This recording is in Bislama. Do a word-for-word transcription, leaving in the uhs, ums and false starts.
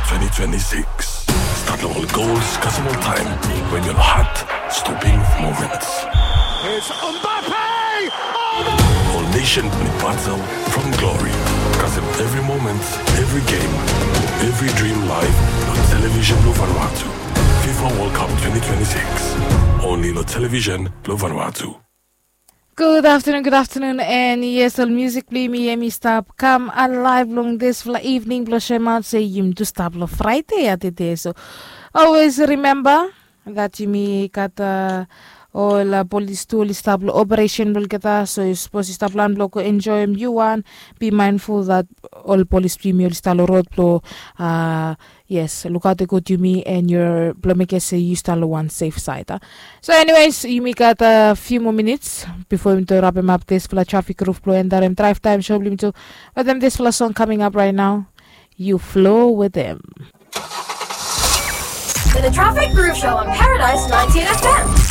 twenty twenty-six. Start long ol goals kasem ol taem wen ol hat stopping moments. It's Mbappe! Ol nation ni patsel from glory. Kasem every moment, every game, every dream live long television blong Vanuatu. FIFA World Cup twenty twenty-six. Only long television blong Vanuatu. Gud aftenun, gud aftenun, and yes, ol musik blong yumi hem i stap kam alive long disfala evening blong soemaot se yumi tu stap long Fraede ya tede. So always remember that yumi gat uh, ol uh, polis tu oli stap long operation blong olgeta, so yu sapos yu stap plan blong go enjoem yu wan, be mindful that ol polis blong yumi oli stap long rod blong uh, yes, lukaot gud yumi and your blong mekem se yu stap long wan safe side. Uh. So anyways, yumi gat a few more minutes before yumi to wrap him up disfala traffic roof blong endarem drive time show blong yumi to wetem disfala song coming up right now. You flow with them. The Traffic Groove Show on Paradise nineteen F M.